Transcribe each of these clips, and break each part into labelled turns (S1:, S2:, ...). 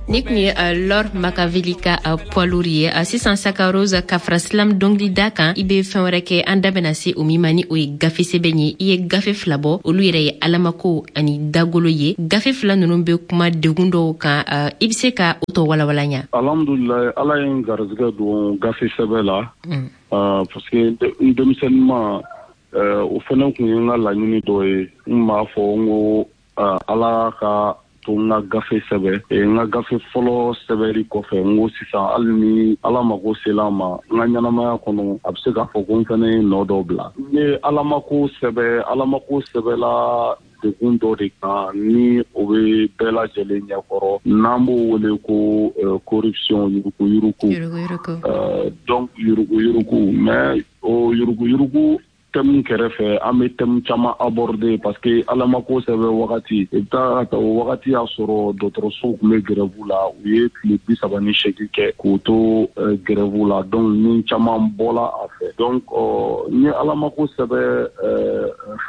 S1: Ni tun ye Lor Makaveli ka Poids lourd ye. Sisan, Sakarose, ka fara slam dɔnkilida kan, i bɛ fɛn wɛrɛ kɛ, an da bɛna se o min ma, ni o ye gafe sɛbɛn ye. I ye gafe fila bɔ, olu yɛrɛ ye Alamako ani Dagolo ye. Gafe fila ninnu bɛ kuma degun dɔw kan. I bɛ se ka o tɔ walawala ɲa?
S2: Alhamdulilayi, Ala ye n garijɛgɛ don gafe sɛbɛn la, parce que n denmisɛnninma, o fana tun ye n ka laɲini dɔ ye. N b'a fɔ n ko Ala ka to n ka gafe sɛbɛ. N ka gafe fɔlɔ sɛbɛri kɔfɛ, n ko sisan, hali ni Ala mako sela ma n ka ɲɛnamaya kɔnɔ, a bɛ se k'a fɔ ko n fana ye nɔ dɔ bila. N ye Alamako sɛbɛ. Alamako sɛbɛla degun dɔ de kan ni o bɛ bɛɛ lajɛlen ɲɛkɔrɔ, n'an b'o wele ko corruption, yuruguyurugu. Donc yuruguyurugu, mais o yuruguyurugu thème kɛrɛfɛ, an bɛ thème caman aborder, parce que Alamako sɛbɛn wagati, i bɛ taa o wagati y'a sɔrɔ dɔgɔtɔrɔsow tun bɛ grève la. U ye tile 38 kɛ k'u to grève la. Donc ni caman bɔla a fɛ. Donc n ye Alamako sɛbɛn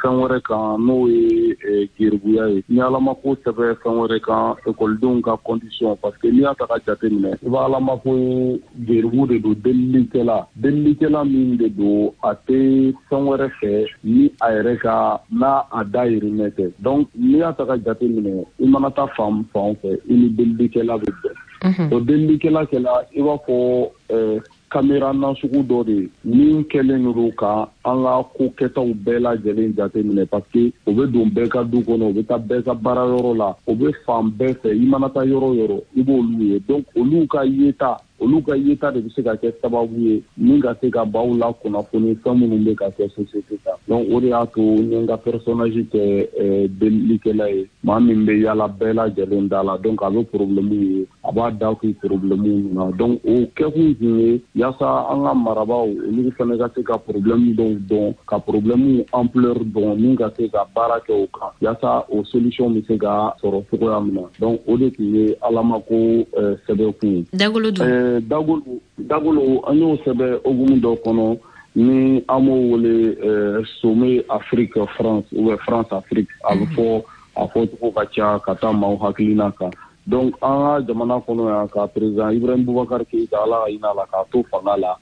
S2: fɛn wɛrɛ kan, n'o ye geribuya ye. N ye Alamako sɛbɛn fɛn wɛrɛ kan, ekɔlidenw ka condition, parce que n'i y'a ta ka jate minɛ, i b'a Alamako ye, geribu de don, delilikɛla, delilikɛla min de don, a tɛ fɛn wɛrɛ fɛ ni a yɛrɛ ka n'a a dayirimɛ tɛ. Donc n'i y'a ta ka jate minɛ, i mana taa fan fan fɛ, i ni delilikɛla bɛ bɛn. O delilikɛla kɛla i b'a fɔ caméra nasugu dɔ de ye min kɛlen don ka an ka ko kɛtaw bɛɛ lajɛlen jate minɛ, parce que o bɛ don bɛɛ ka du kɔnɔ, o bɛ taa bɛɛ ka baarayɔrɔ la, o bɛ fan bɛɛ fɛ. I mana taa yɔrɔ o yɔrɔ, i b'olu ye. Donc olu ka yeta de bɛ se ka kɛ sababu ye min ka se ka baw la kunnafoni fɛn minnu bɛ ka kɛ société kan. Donc o de y'a to n ye n ka personnage kɛ delilikɛla ye, maa min bɛ yala bɛɛ lajɛlen da la. Donc a bɛ problème ye, a b'a da kun problème na. Donc o kɛkun kun ye yaasa an ka marabaaw, olu fana ka se ka problème dɔw dɔn, ka problème ampleur dɔn, min ka se ka baara kɛ o kan, yaasa o solution bɛ se ka sɔrɔ cogoya min na. Donc o de tun ye Alamako sɛbɛnkun ye.
S1: Dagolo dun?
S2: Dagolo, Dagolo, an y'o sɛbɛn hokumu dɔ kɔnɔ ni an b'o wele sommet Afrique France ou bien France Afrique. A bɛ fɔ, a fɔcogo ka ca ka taa maaw hakilina kan. Donc an ka jamana kɔnɔ yan, ka président Ibrahim Boubacar Keïta, Ala ka hinɛ a la, k'a to fanga la,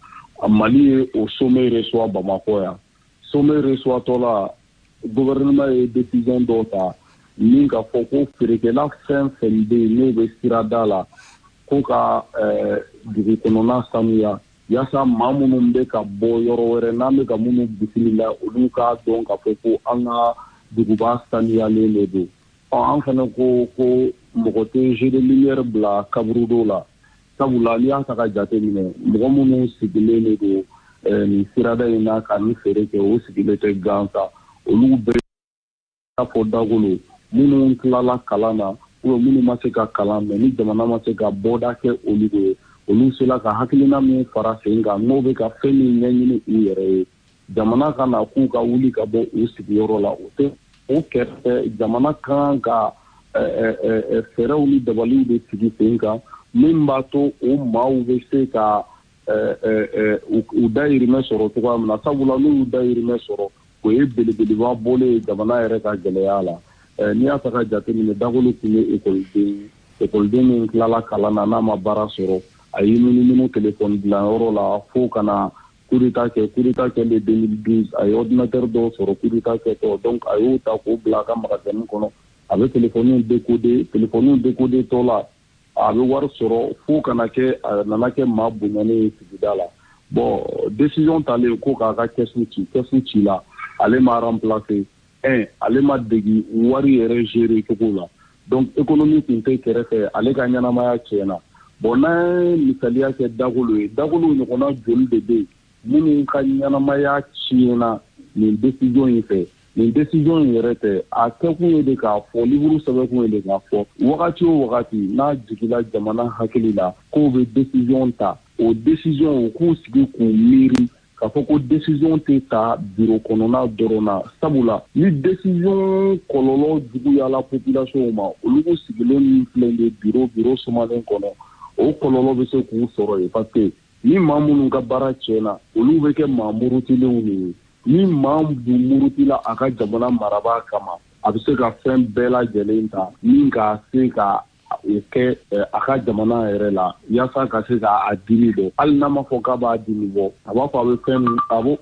S2: Mali ye o sommet reçoit Bamakɔ yan. Sommet reçoit tɔ la, gouvernement ye décision dɔw ta min ka fɔ ko feerekɛla fɛn fɛn bɛ yen n'o bɛ sirada la, ko ka dugu kɔnɔna sanuya, yaasa maa minnu bɛ ka bɔ yɔrɔ wɛrɛ, n'an bɛ ka minnu bisimila, olu k'a dɔn k'a fɔ ko an ka duguba sanuyalen de don. Ɔ, an fana ko ko mɔgɔ tɛ jeu de lumière bila kaburudo la, sabula n'i y'a ta ka jate minɛ, mɔgɔ minnu sigilen de don nin sirada in na ka nin feere kɛ, o sigilen tɛ gansan. Olu bɛɛ fɔ Dagolo, minnu tilala kalan na ou minnu ma se ka kalan mɛ, ni jamana ma se ka bɔda kɛ olu ye, olu sera ka hakilina min fara sen kan, n'o bɛ ka fɛn min ɲɛɲini u yɛrɛ ye, jamana ka na k'u ka wuli ka bɔ u sigiyɔrɔ la, o tɛ. O kɛrɛfɛ, jamana kan ka fɛɛrɛw ni dabaliw de sigi sen kan min b'a to o maaw bɛ se ka u dayirimɛ sɔrɔ cogoya min na, sabula n'u y'u dayirimɛ sɔrɔ, o ye belebeleba bɔlen ye jamana yɛrɛ ka gɛlɛya la. N'i y'a ta ka jateminɛ, Dagolo tun ye ekɔliden, ekɔliden min tilala kalan na, n'a ma baara sɔrɔ, a y'i munumunu telefɔni dilanyɔrɔ la fo ka na coup d'état kɛ. Coup d'état kɛlen 2012, a ye ordinateur dɔw sɔrɔ coup d'état kɛtɔ. Donc a y'o ta k'o bila a ka magasin kɔnɔ, a bɛ telefɔniw décoder. Telefɔniw décoder tɔ la, a bɛ wari sɔrɔ fo ka na kɛ a nana kɛ maa bonyanen ye sigida la. Bon, décision talen ko k'a ka caisse ci, caisse ci la, ale ma remplacer. Un, ale ma degi wari yɛrɛ gérer cogo la. Donc économie tun tɛ kɛrɛfɛ, ale ka ɲɛnamaya tiɲɛna. Bon, n'an ye misaliya kɛ Dagolo ye, Dagolo ɲɔgɔnna joli de bɛ yen minnu ka ɲɛnamaya tiɲɛna nin décision in fɛ? Nin décision in yɛrɛ tɛ, a kɛkun ye de k'a fɔ, livre sɛbɛnkun ye de k'a fɔ, wagati o wagati n'a jigila jamana hakili la k'o bɛ décision ta, o décision, u k'u sigi k'u miiri k'a fɔ ko décision tɛ ta bureau kɔnɔna dɔrɔn na, sabula ni décision kɔlɔlɔ juguyala population ma, olu sigilen min filɛ nin ye bureau sumalen kɔnɔ, o kɔlɔlɔ bɛ se k'u sɔrɔ yen, parce que ni maa minnu ka baara tiɲɛna, olu bɛ kɛ maa murutilenw de ye. Ni maa dun murutila a ka jamana marabaa kama, a bɛ se ka fɛn bɛɛ lajɛlen ta min k'a se ka o kɛ a ka jamana yɛrɛ la yaasa ka se ka a dimi bɔ. Hali n'a ma fɔ k'a b'a dimi bɔ, a b'a fɔ a bɛ fɛn min, a b'o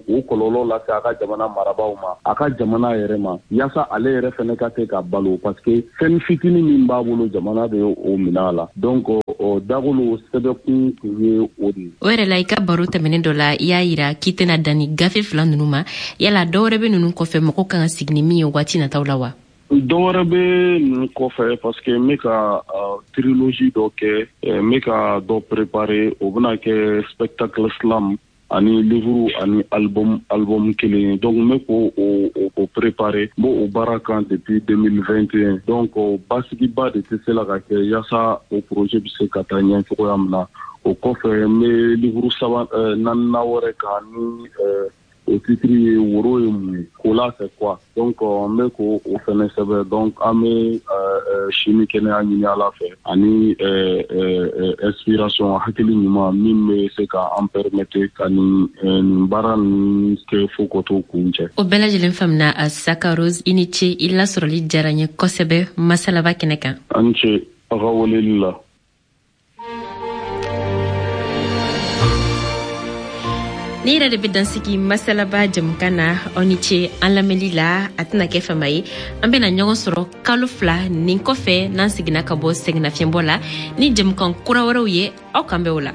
S2: o kɔlɔlɔ lase a ka jamana marabaaw ma, a ka jamana yɛrɛ ma, yaasa ale yɛrɛ fɛnɛ ka se ka balo, parce que fɛn fitinin min b'a bolo, jamana bɛ o minɛ a la. Donc Dagolo sɛbɛkun tun ye o de ye.
S1: O yɛrɛ la, i ka baro tɛmɛnen dɔ la, i y'a yira k'i tɛna dan ni gafe fila ninnu ma. Yala dɔ wɛrɛ bɛ ninnu kɔfɛ, mɔgɔw kan ka sigi ni min ye waati nataw la wa?
S2: Dɔ wɛrɛ bɛ ninnu kɔfɛ, parce que n bɛ ka trilogie dɔ kɛ, n bɛ ka dɔ préparer. O bɛna kɛ spectacle slam ani livre ani album kelen ye. Donc n bɛ k'o o préparer, n b'o o baara kan depuis 2021. Donc basigiba de tɛ se la ka kɛ yaasa o projet bɛ se ka taa ɲɛ cogoya min na. O kɔfɛ, n bɛ livre saba naaninan wɛrɛ kan ni o titre ye "Woro ye mun ye", Kola c'est quoi. Donc n bɛ k'o o fɛnɛ sɛbɛn. Donc an bɛ si ni kɛnɛya ɲini Ala fɛ ani inspiration, hakili ɲuman min bɛ se ka an permettre ka nin baara ninnu kɛ fo ka t'o kun cɛ.
S1: O bɛɛ lajɛlen faamuna. Saka Rose, i ni ce, i lasɔrɔli diyara n ye kosɛbɛ masalaba kɛnɛ kan.
S2: An ni ce aw ka weleli la.
S1: Ni yɛrɛ de bɛ dansigi masalaba jamukan na. Aw ni ce an lamɛnli la. A tɛna kɛ fama ye, an bɛna ɲɔgɔn sɔrɔ kalo 2 nin kɔfɛ, n'an seginna ka bɔ sɛgɛnnafiɲɛbɔ la ni jamukan kura wɛrɛw ye. Aw kan bɛ o la.